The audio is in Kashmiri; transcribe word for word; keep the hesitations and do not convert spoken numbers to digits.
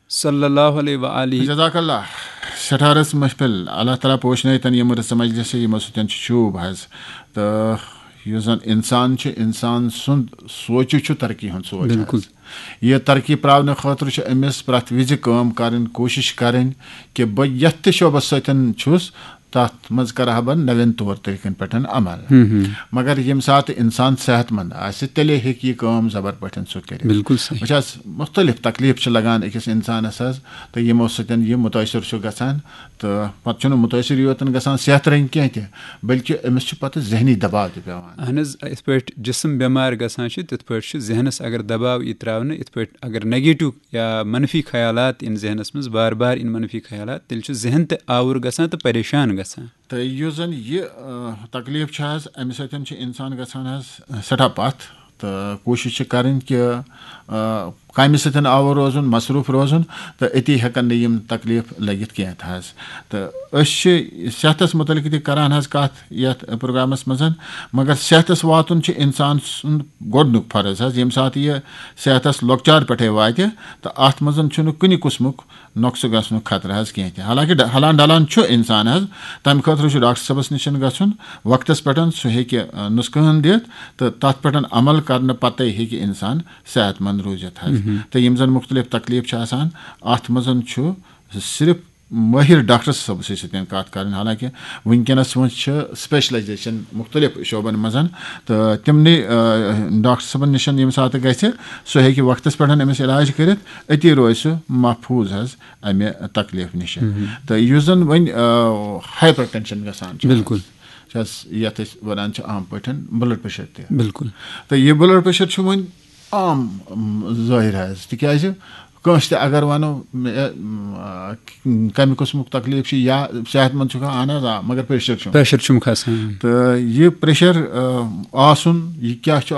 صلی اللہ علیہ وآلہ۔ جزاک اللہ۔ سٹھارس محفل، اللہ تعالیٰ پوشنٲیتن یِم رٕژٕ مجلسہٕ یِمو سۭتۍ چھُ شوٗب حظ۔ تہٕ یُس زن انسان چھُ، انسان سُنٛد سونٛچہِ چھُ ترقی ہُنٛد سونٛچ حظ۔ بِلکُل۔ یہِ ترقی پراونہٕ خٲطرٕ چھُ أمِس پرٛٮ۪تھ وِزِ کٲم کرٕنۍ، کوٗشِش کرٕنۍ کہِ بہٕ یتھ تہِ شعبس سۭتۍ چھُس، تتھ منٛز کرٕ ہا بہٕ نوٮ۪ن طور طریٖقن پٮ۪ٹھ عمل۔ مگر ییٚمہِ ساتہٕ انسان صحت مند آسہِ، تیٚلے ہیٚکہِ یہِ کٲم زبر پٲٹھۍ سُہ کٔرِتھ۔ بِلکُل صحیح۔ وٕچھ حظ، مختلف تکلیف چھِ لگان أکِس انسانس حظ، تہٕ یِمو سۭتۍ یہِ مُتٲثر چھُ گژھان۔ تہٕ پتہٕ چھُنہٕ مُتٲثر یوتن گژھان صحت رنگۍ کینٛہہ تہِ، بلکہِ أمِس چھُ پتہٕ ذہنی دباو تہِ پٮ۪وان۔ اہن حظ، یِتھ پٲٹھۍ جسم بٮ۪مار گژھان چھُ، تِتھ پٲٹھۍ چھُ ذہنس اگر دباو یی تراونہٕ، یِتھ پٲٹھۍ اگر نیگیٹو یا منفی خیالات یِن ذہنس منٛز، بار بار یِن منفی خیالات، تیٚلہِ چھُ ذہن تہِ آوُر گژھان تہٕ پریشان گژھان۔ تہٕ یُس زن یہِ آ، تکلیف چھُ حظ، امہِ سۭتۍ چھُ انسان گژھان حظ سٮ۪ٹھاہ پتھ، تہٕ کوٗشش چھِ کرٕنۍ کہِ آ، کامہِ سۭتۍ آوُر روزُن، مصروف روزُن، تہٕ أتی ہٮ۪کن نہٕ یِم تکلیف لٔگِتھ کینٛہہ تہِ حظ۔ تہٕ أسۍ چھِ صحتس متعلق تہِ کران حظ کتھ یتھ پروگرامس منٛز، مگر صحتس واتُن چھُ انسان سُنٛد گۄڈنیُک فرض حظ۔ ییٚمہِ ساتہٕ یہِ صحتس لۄکچار پٮ۪ٹھے واتہِ، تہٕ اتھ منٛز چھُنہٕ کُنہِ قٕسمُک نۄقصہٕ گژھنُک خطرٕ حظ کینٛہہ تہِ۔ حالانکہ ڈ- ہلان ڈلان چھُ انسان حظ، تمہِ خٲطرٕ چھُ ڈاکٹر صٲبس نِش گژھُن وقتس پٮ۪ٹھ، سُہ ہیٚکہِ آ، نُسخہٕ ہن دِتھ، تہٕ تتھ پٮ۪ٹھ عمل کرنہٕ پتے ہیٚکہِ انسان صحت مند روٗزِتھ حظ۔ تہٕ یِم زن مختلف تکلیف چھِ آسان، اتھ منٛز چھُ صرف مٲہر ڈاکٹر صٲبسٕے سۭتۍ کتھ کرٕنۍ۔ حالانکہ وٕنکیٚنس منٛز چھِ سپیشلائزیشن مختلف شعبن منٛز، تہٕ تِمنٕے آ، ڈاکٹر صٲبن نِش ییٚمہِ ساتہٕ گژھِ، سُہ ہیٚکہِ وقتس پٮ۪ٹھ أمِس علاج کٔرِتھ، أتی روزِ سُہ محفوٗظ حظ امہِ تکلیف نِش۔ تہٕ یُس زن وۄنۍ ہائپر ٹینشن گژھان چھُ، بِلکُل۔ چھِ حظ یتھ أسۍ ونان چھِ عام پٲٹھۍ بلڈ پریشر تہِ۔ بِلکُل۔ تہٕ یہِ بلڈ پریشر چھُ وۄنۍ عام م، ظٲہِر حظ، تِکیازِ کٲنٛسہِ تہِ اگر ونو مےٚ، م، آ، کمہِ قٕسمُک تکلیف چھُ یا صحت مند چھُکھا، اہن حظ آ، مگر پریشر چھُ۔ پریشر چھُم کھسان۔ تہٕ یہِ پریشر آ، آسُن، یہِ کیٛاہ چھُ